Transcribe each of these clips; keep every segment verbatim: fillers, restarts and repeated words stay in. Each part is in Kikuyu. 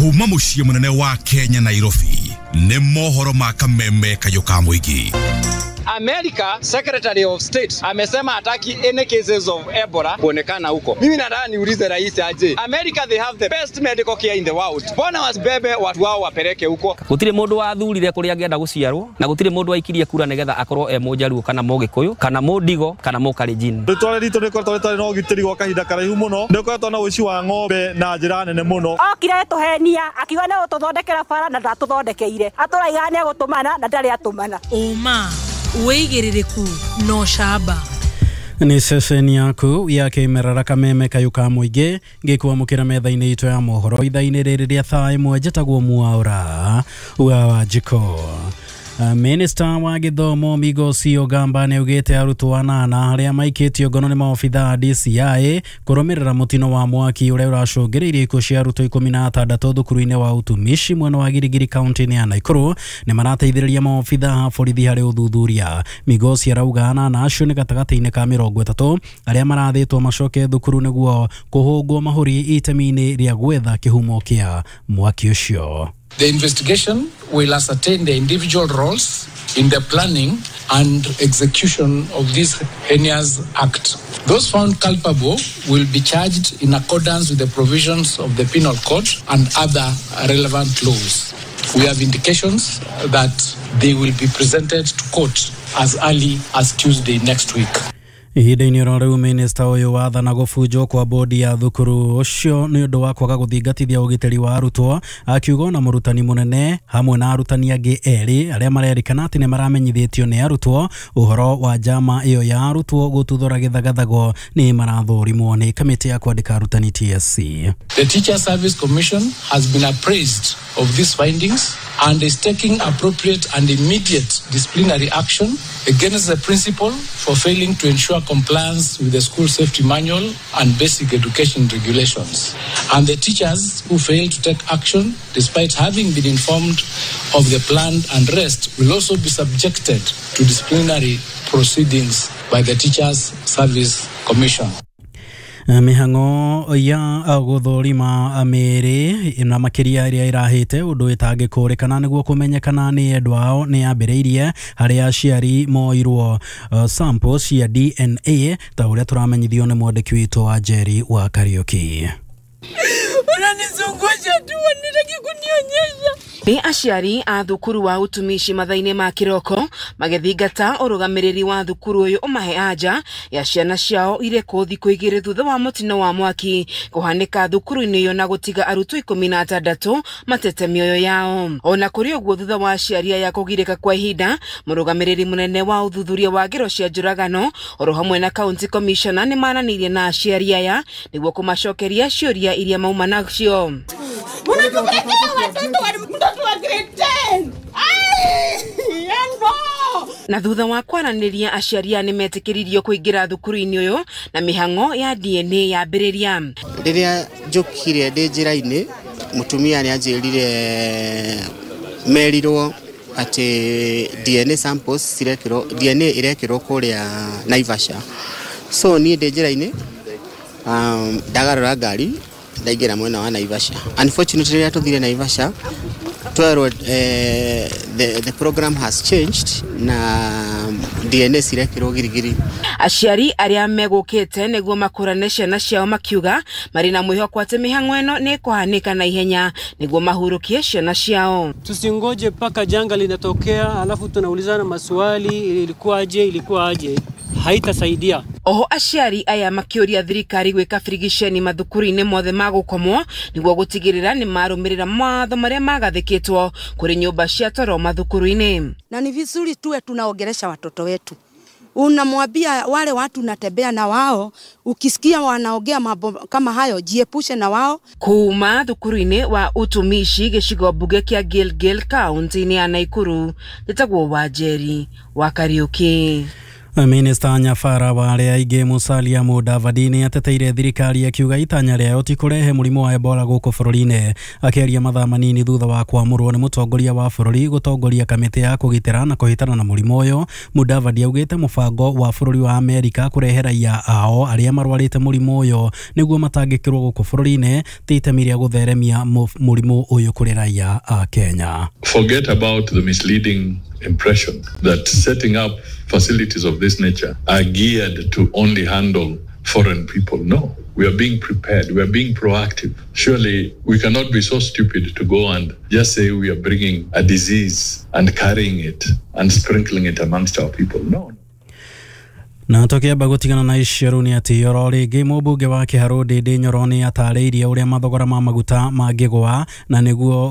Kuma muciĩ munene wa Kenya Nairobi nĩ mohoro ma kameme kayũ ka mũingĩ. America Secretary of State amesema hataki any cases of Ebola kuonekana huko. Mimi nataka niulize rais aje. America, they have the best medical care in the world. Mbona wasibebe watu wao wapeleke huko? Gutire mundu wathurire kuria angĩenda guciarwo na gutire mundu waikirie kura nigetha akorwo e Mũjaruo kana Mũgĩkũyũ kana Mũndigo kana Mũkalenjin. Rĩtwa ritũ rĩkoretwo rĩtarĩ na ũgitĩri gwa kahinda karaihu mũno. Nĩ ũkoretwo na ũici wa ng'ombe na njĩra nene mũno. Okire tũhenia akiuga nĩ gũtũthondekera bara na ndatũthondekeire. Atũraiga nĩ egũtũmana na ndarĩ atũmana. Ũma wĩigĩrĩrĩku no camba. Nĩ ceceni yaku ya kĩmerera kameme kayũ ka mũingĩ ngĩkwamũkĩra metha-inĩ itũ ya mohoro ithaa-inĩ rĩrĩ rĩa thaa ĩmwe. Njĩtagwo Mwaura wa Wanjikũ. Minista wa gĩthomo Migosi Ogamba nĩaugĩte arutwo anana arĩa maikĩtio ngono nĩ maobithaa a D C I kũrũmĩrĩra mũtino wa mwaki ũrĩa ũracũngĩrĩirie ikuũ cia arutwo ikũmi na atandatũ thukuru-inĩ wa Utumishi mwena wa Girigiri kaunti-inĩ ya Nakuru nĩ marateithĩrĩria maobithaa a borithi harĩ ũthuthuria. Migosi arauga anana acio nĩ gatagatĩ-inĩ ka mĩrongo ĩtatũ arĩa marathĩtwo macoke thukuru nĩguo kũhũngwo mahũri itemi-inĩ rĩa gwetha kĩhumo kĩa mwaki ũcio. The investigation will ascertain the individual roles in the planning and execution of this heinous act. Those found culpable will be charged in accordance with the provisions of the Penal Code and other relevant laws. We have indications that they will be presented to court as early as Tuesday next week. Ihinda-inĩ oro rĩu minista ũyũ wathana gũbunjwo kwa bodi ya thukuru ũcio nĩ ũndũ wa kwaga gũthingatithia ũgitĩri wa arutwo, akiuga ona mũrutani mũnene hamwe na arutani angĩ erĩ arĩa marerĩkana atĩ nĩ maramenyithĩtio nĩ arutwo ũhoro wa njama ĩyo ya arutwo gũtuthũra gĩthagathago nĩ marathũrimwo nĩ kamĩtĩ ya kwandĩka arutani T S C. The Teacher Service Commission has been appraised of these findings and is taking appropriate and immediate disciplinary action against the principal for failing to ensure compliance with the school safety manual and basic education regulations, and the teachers who fail to take action despite having been informed of the planned unrest will also be subjected to disciplinary proceedings by the Teachers Service Commission. Mĩhang'o ya gũthũrima mĩĩrĩ na makĩria ĩrĩa ĩrahĩte ũndũ ĩtangĩkũrĩkana nĩguo kũmenyekana nĩ endwa ao nĩ yambĩrĩirie harĩa aciari moirwo sample cia D N A ta ũrĩa tũramenyithio nĩ mwandĩki witũ wa Njeri wa Kariũki. Unanizungusha tu, wanitaki kunionyesha. Nĩ aciari a thukuru wa Utumishi mathaa-inĩ ma kĩroko magĩthingata ũrũgamĩrĩri wa thukuru ũyũ ũmahe anja ya ciana ciao irĩkũ thikũ igĩrĩ thutha wa mũtino wa mwaki kũhanĩka thukuru-inĩ ĩyo na gũtiga arutwo ikũmi na atandatũ matete mĩoyo yao. Ona kũrĩ ũguo, thutha wa aciari aya kũgirĩka kwa ihinda, mũrũgamĩrĩri mũnene wa ũthuthuria wa ngero cia njũragano oro hamwe na county commissioner nĩ maranĩirie na aciari aya nĩguo kũmacokeria ciũria iria mauma nacio. Na thutha wa kwaranĩria aciari aya nĩmetĩkĩririo kũingĩra thukuru-inĩ ũyũ na mĩhang'o ya D N A yambĩrĩria. Rĩrĩa njũkire ndĩ njĩra-inĩ, mũtumia nĩanjĩrire merirwo atĩ D N A samples cirekĩrwo, D N A ĩrekĩrwo kũrĩa Naivasha. So niĩ ndĩ njĩra-inĩ, um, ndagarũra ngari ndaingĩra mwena wa Naivasha. Unfortunately rĩrĩa tũthire Naivasha twerwo eh, the, the program has changed na D N A cirekĩrwo Girigiri. Aciari arĩa megũkĩte nĩguo makũrane ciana ciao makiuga marĩ na mwĩhoko atĩ mĩhang'o ĩno nĩ ĩkũhanĩka na ihenya nĩguo mahurũkie ciana ciao. Tusingoje mpaka janga linatokea alafu tunaulizana maswali ilikuwaje ilikuwaje, haitasaidia. Oho aciari aya makĩũria thirikari gwĩka birigiceni mathukuru-inĩ mothe ma gũkomwo nĩguo gũtigĩrĩra nĩ marũmĩrĩra mawatho marĩa magathĩkĩtwo kũrĩ nyũmba cia toro mathukuru-inĩ. Na ni vizuri tuwe tunaongelesha watoto wetu. Unamwambia wale watu unatembea na wao, ukisikia wanaongea mambo kama hayo jiepushe na wao. Kuma thukuru-inĩ wa Utumishi gĩcigo mbunge kĩa Gilgil kaunti-inĩ ya Nakuru, njĩtagwo Wanjeri wa Kariũki. Minista Nyabara wa arĩa aingĩ Musalia Mudavadi nĩ ateteire thirikari akiuga itanya rĩayo ti kũrehe mũrimũ wa Ebola gũkũ bũrũri-inĩ. Akĩaria mathaa manini thutha wa kwamũrwo nĩ mũtongoria wa bũrũri gũtongoria kamĩtĩ ya kũgitĩra na kũhĩtana na mũrimũ ũyũ, Mudavadi augĩte mũbango wa bũrũri wa Amerika kũrehe raia ao arĩa marwarĩte mũrimũ ũyũ nĩguo matangĩkĩrwo gũkũ bũrũri-inĩ ti itemi rĩa gũtheremia mũrimũ ũyũ kũrĩ raia a Kenya. Forget about the misleading impression that setting up facilities of this nature are geared to only handle foreign people. No, we are being prepared. We are being proactive. Surely we cannot be so stupid to go and just say we are bringing a disease and carrying it and sprinkling it amongst our people. No. Na tukiamba gutigana na icio rĩu nĩ atĩ oro rĩngĩ mũmbunge wa Kĩharũ Ndĩndĩ Nyoro nĩ atarĩirie ũrĩa mathogora ma maguta mangĩgũa na nĩguo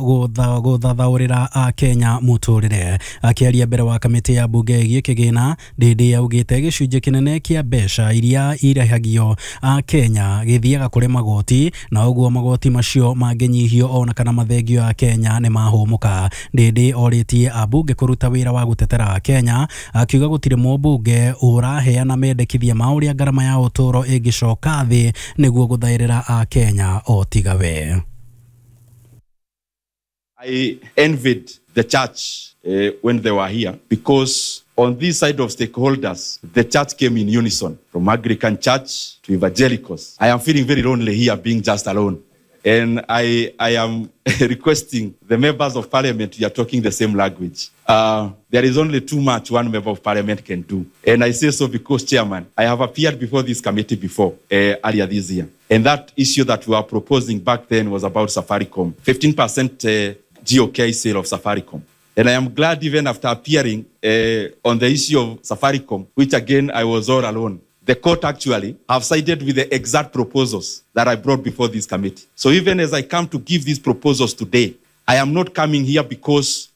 gũthathaũrĩra Akenya mũtũrĩre. Akĩaria mbere wa kamĩtĩ ya mbunge ĩgiĩ kĩgĩna, Ndĩndĩ augĩte gĩcunjĩ kĩnene kĩa mbeca iria irĩhagio Akenya gĩthiaga kũrĩ magoti na ũguo magoti macio mangĩnyihio ona kana mathengio Akenya nĩ mahũmũka. Ndĩndĩ orĩtie ambunge kũruta wĩra wa gũtetera Akenya akiuga gũtirĩ mũmbunge ũraheana na mendekithia ma ũrĩa ngarama ya ũtũũro ĩngĩcoka thĩ nĩguo gũthaĩrĩra Akenya o tiga we. I envied the church uh, when they were here because on this side of stakeholders, the church came in unison, from Anglican Church to evangelicals. I am feeling very lonely here being just alone. And I, I am requesting the members of parliament, we are talking the same language. Uh, there is only too much one member of parliament can do. And I say so because, Chairman, I have appeared before this committee before, uh, earlier this year. And that issue that we were proposing back then was about Safaricom, fifteen percent uh, G O K sale of Safaricom. And I am glad even after appearing uh, on the issue of Safaricom, which again I was all alone, the court actually have sided with the exact proposals that I brought before this committee. So even as I come to give these proposals today, I am not coming here because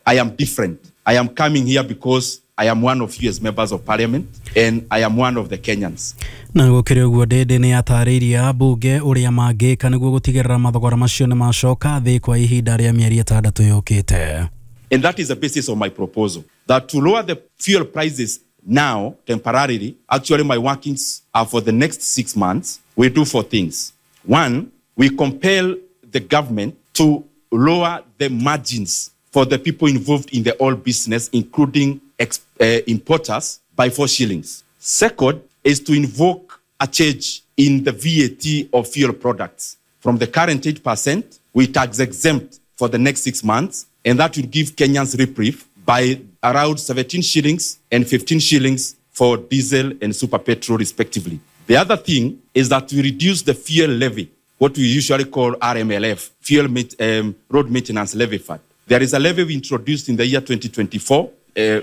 I am different. I am coming here because I am one of you as members of parliament and I am one of the Kenyans. Na gũkĩrĩ ũguo Ndĩndĩ nĩ atarĩirie ambunge ũrĩa mangĩka nĩguo gũtigĩrĩra mathogora macio nĩ macoka thĩ kwa ihinda rĩa mĩeri ĩtandatũ yũkĩte. And that is the basis of my proposal, that to lower the fuel prices now, temporarily, actually my workings are for the next six months, we do four things. One, we compel the government to lower the margins for the people involved in the oil business, including ex- uh, importers, by four shillings. Second is to invoke a change in the V A T of fuel products. From the current eight percent, we tax exempt for the next six months, and that will give Kenyans reprieve by around seventeen shillings and fifteen shillings for diesel and super petrol, respectively. The other thing is that we reduce the fuel levy, what we usually call R M L F, Fuel um, Road Maintenance Levy Fund. There is a levy we introduced in the year twenty twenty-four. Uh,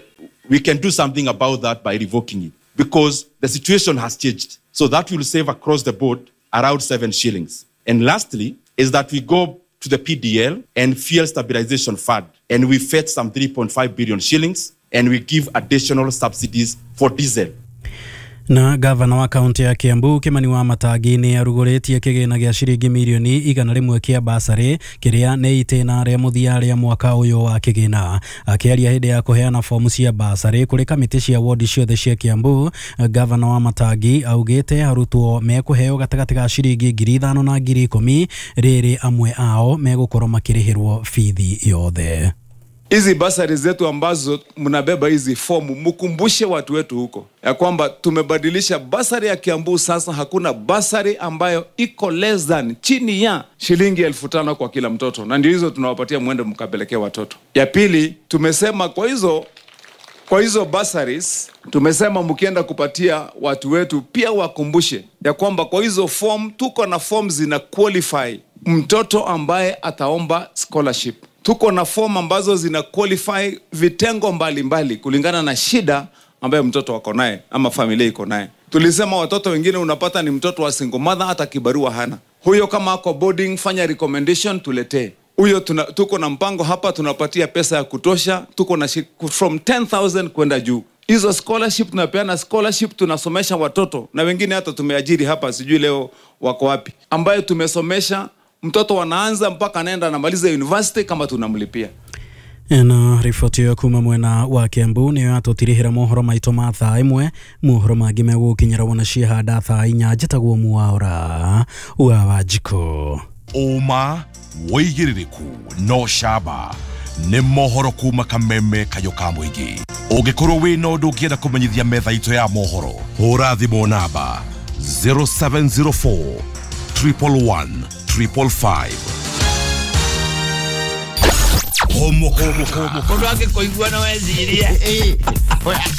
we can do something about that by revoking it because the situation has changed. So that will save across the board around seven shillings. And lastly is that we go to the P D L and Fuel Stabilization Fund, and we fetch some three point five billion shillings, and we give additional subsidies for diesel. Na gavana wa kaunti ya Kiambu Kimani wa Matangi nĩ arugũrĩtie kĩgĩna gĩa ciringi mirioni igana rĩmwe kĩa basarĩ kĩrĩa nĩ itĩna rĩa mũthia rĩa mwaka ũyũ wa kĩgĩna. Akĩaria hĩndĩ ya kũheana fomu cia basarĩ kũrĩ kamĩtĩ cia wodi ciothe cia Kiambu, gavana wa Matangi augĩte arutwo mekũheo gatagatĩ ga ciringi ngiri ithano na ngiri ikũmi rĩrĩ amwe ao megũkorwo makĩrĩhĩrwo bithi yothe. Hizi basari zetu ambazo mnabeba hizi fomu, mkumbushe watu wetu huko ya kwamba tumebadilisha basari ya Kiambu. Sasa hakuna basari ambayo iko less than chini ya shilingi elfu tano kwa kila mtoto, na ndio hizo tunawapatia mwende mkapelekea watoto. Ya pili, tumesema kwa hizo kwa hizo basaris tumesema mkienda kupatia watu wetu pia wakumbushe ya kwamba kwa hizo form tuko na form zina qualify mtoto ambaye ataomba scholarship. Tuko na form ambazo zina qualify vitengo mbalimbali mbali, kulingana na shida ambayo mtoto wako naye ama familia iko naye. Tulisema watoto wengine unapata ni mtoto wa single mother, hata kibarua hana. Huyo kama ako boarding, fanya recommendation tuletee. Huyo tuko na mpango hapa, tunapatia pesa ya kutosha, tuko na from ten thousand kwenda juu. Hizo scholarship tunapeana scholarship, tunasomesha watoto na wengine hata tumeajiri hapa, sijui leo wako wapi, ambayo tumesomesha mtoto wanaanza mpaka anaenda anamaliza university kama tunamlipia. Na riboti ĩyo kuma mwena wa Kiambu nĩyo yatũtirihĩra mohoro maitũ ma thaa ĩmwe. Mohoro mangĩ megũkinyĩra wona ciehanda thaa inya. Njĩtagwo Mwaura wa Wanjikũ. Ũma wĩigĩrĩrĩku no camba nĩ mohoro kuma kameme kayũ ka mũingĩ. Ũngĩkorwo wĩna ũndũ ũngĩenda kũmenyithia metha itũ ya mohoro, hũra thimũ namba zero seven zero four triple one triple five. Homo homo homo Mũndũ angĩkũigua no ecirie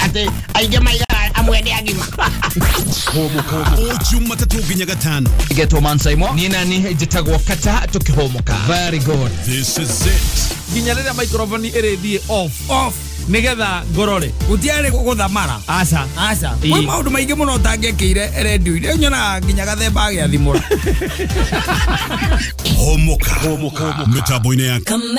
atĩ aingĩ maigaga amwe nĩ agima. Homo homo o Jumatatũ nginya gatano. Getwo Mansaimo ni nani njĩtagwo Kata tũkĩhũmũka. Very good. This is it. Nginya rĩrĩa microphone ĩrĩthiĩ off off nigetha ngorore gutiarĩ gũthamara. Aca aca kwĩ maũndũ maingĩ mũno ũtangĩekĩire redio-inĩ, nyonaga nginya gathemba agĩathimũra. Homoka mĩtambo-inĩ ya